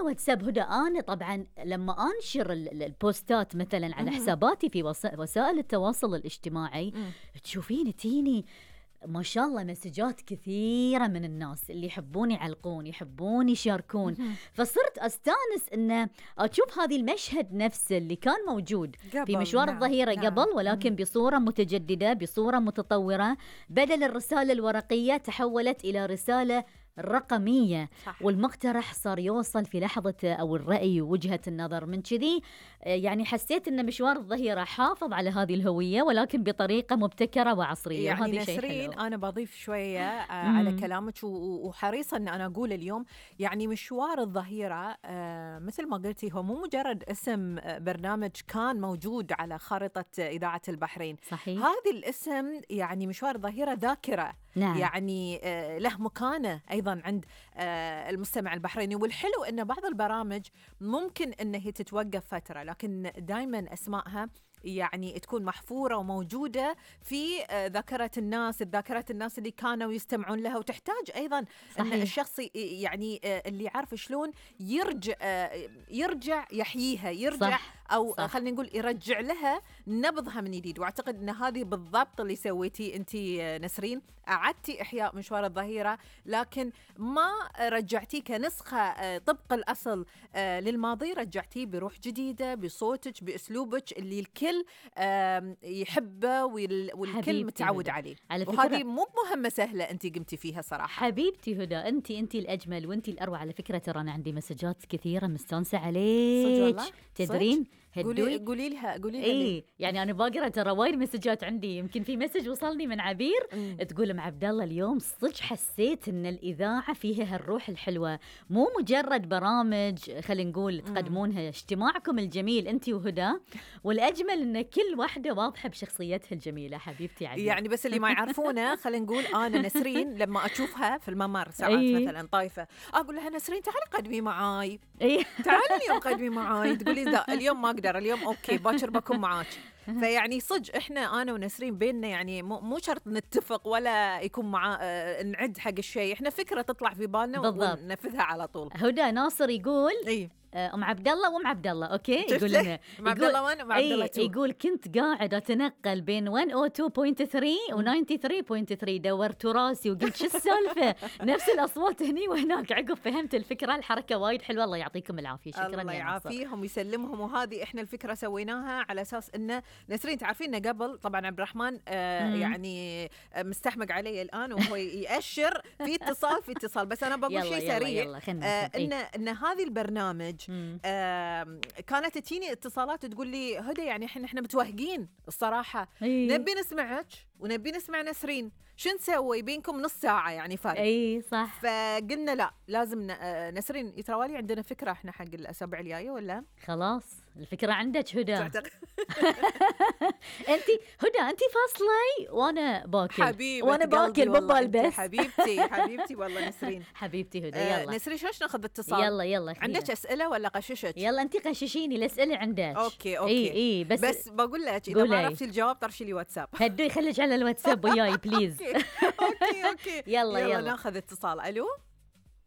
واتساب هدى. أنا طبعا لما أنشر البوستات مثلا على حساباتي في وسائل التواصل الاجتماعي، تشوفين تيني ما شاء الله مسجات كثيرة من الناس اللي يحبون يعلقون، يحبون يشاركون. فصرت أستانس إن أشوف هذه المشهد نفسه اللي كان موجود في مشوار الظهيرة قبل، ولكن بصورة متجددة، بصورة متطورة. بدل الرسالة الورقية تحولت إلى رسالة رقمية. صح. والمقترح صار يوصل في لحظة أو الرأي ووجهة النظر. من كذي يعني حسيت أن مشوار الظهيرة حافظ على هذه الهوية، ولكن بطريقة مبتكرة وعصرية. يعني نسرين أنا بضيف شوية على كلامك، وحريصة أن أنا أقول اليوم يعني مشوار الظهيرة مثل ما قلتي هو مو مجرد اسم برنامج كان موجود على خارطة إذاعة البحرين. صحيح. هذا الاسم يعني مشوار الظهيرة ذاكرة. نعم. يعني له مكانة أيضا عند المستمع البحريني. والحلو أن بعض البرامج ممكن أنها تتوقف فترة، لكن دائما أسمائها يعني تكون محفورة وموجودة في ذاكرة الناس، اللي كانوا يستمعون لها. وتحتاج أيضا صحيح. أن الشخص يعني اللي يعرف شلون يرجع يحييها، يرجع صح. أو خلينا نقول يرجع لها نبضها من جديد. وأعتقد أن هذه بالضبط اللي سويتي أنت نسرين، أعدتي إحياء مشوار الظهيرة، لكن ما رجعتيه كنسخة طبق الأصل للماضي، رجعتيه بروح جديدة، بصوتك، بأسلوبك اللي الكل يحبه والكل متعود عليه. وهذه مو مهمة سهلة أنت قمتي فيها صراحة. حبيبتي هدى، أنت الأجمل وأنت الأروع. على فكرة ترى أنا عندي مسجات كثيرة مستانسة عليك، تدرين؟ قولي لها إيه يعني أنا باقرأ ترى وايد مسجات عندي. يمكن في مسج وصلني من عبير تقول أم عبد الله اليوم صدق حسيت إن الإذاعة فيها هالروح الحلوة، مو مجرد برامج خلينا نقول تقدمونها. اجتماعكم الجميل أنت وهدى، والأجمل إن كل واحدة واضحة بشخصيتها الجميلة. حبيبتي عبير. يعني بس اللي ما يعرفونه خلينا نقول أنا نسرين لما أشوفها في الممر ساعات مثلا طايفة، أقول لها نسرين تعالي قدمي معاي، تعالي اليوم قدمي معاي. تقولي لا اليوم ما أقدر، اليوم أوكي باكر بكون معاك. فيعني صدق أنا ونسرين بيننا يعني مو شرط نتفق ولا يكون نعد حق الشيء، إحنا فكرة تطلع في بالنا وننفذها على طول. هدى ناصر يقول أم عبد الله وأم عبد الله، أوكي، يقول لنا أم عبد الله 1 وأم عبد الله 2. يقول كنت قاعد أتنقل بين 102.3 و 93.3، دورت راسي وقلت شو السالفة، نفس الأصوات هني وهناك. عقب فهمت الفكرة. الحركة وايد حلوة، الله يعطيكم العافية. شكرا. الله يعافيهم ويسلمهم. وهذه إحنا الفكرة سويناها على أساس إنه نسرين تعرفين إنه قبل طبعا عبد الرحمن يعني مستحمق علي الآن وهو يأشر في اتصال بس أنا بقول شيء سريع. إن هذه البرنامج كانت تجيني اتصالات تقول لي هدى يعني احنا متوهقين الصراحة، نبي نسمعك ونبي نسمع نسرين، شو نسوي بينكم نص ساعة يعني فرق. صح. فقلنا لا لازم نسرين يتروالي عندنا فكرة احنا حق الأسابيع الجاية ولا خلاص الفكرة عندك هدى. انت فاصلي وانا باكل وانا باكل ببالبس. حبيبتي والله نسرين. حبيبتي هدى. يلا نسرين شوش ناخذ اتصال. يلا عندك أسئلة ولا قششك؟ يلا انت قششيني الأسئلة عندك. اوكي بس بقول لك اذا ما عرفتي الجواب طرشي لي واتساب. هدو يخليك على الواتساب وياي بليز. اوكي يلا ناخذ اتصال. الو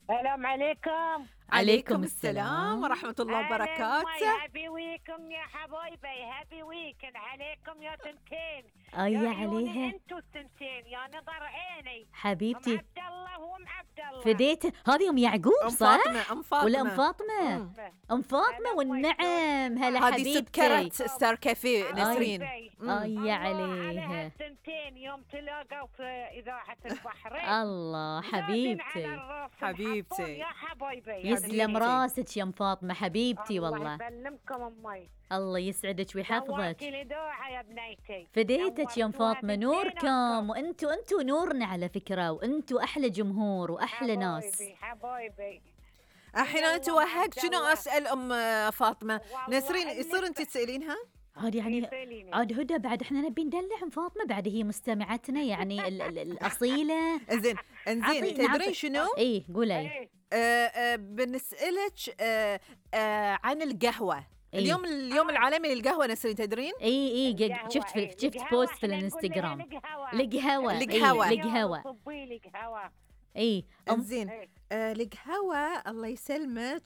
السلام عليكم. عليكم السلام ورحمة الله وبركاته. هابي ويكم يا حبايبي، هابي ويكند عليكم يا تنتين. يا عليها انتوا التنتين يا نظر عيني حبيبتي. ام عبد الله وام عبد الله فديته. هذه ام يعقوب صح؟ ام فاطمة ولا ام فاطمة؟ ام فاطمة والنعم. هلا حبيبتي. هذه سكرة ستار كافيه نسرين. يا عليها التنتين يوم تلاقوا في إذاعة البحرين. الله حبيبتي يا حبايبي. يسلم راسك يا ام فاطمة حبيبتي. والله الله يسلمكم امي. الله يسعدك ويحفظك. يا بنيتي. فديتك يا ام فاطمة. نوركم وانتوا نورنا علوا فكرة، وانتوا احلى جمهور واحلى ناس. حبايبي احيانا توهقت شنو اسال ام فاطمة. نسرين يصير انت تسالينها عاد يعني عاد هدى بعد احنا نبي ندلع ام فاطمة، بعد هي مستمعتنا يعني الأصيلة. انزين تدرين شنو؟ قولي. بنسألك عن القهوة. اليوم العالمي للقهوة نسرين تدرين؟ شفت بوست في الانستغرام. القهوة انزين القهوة الله يسلمك.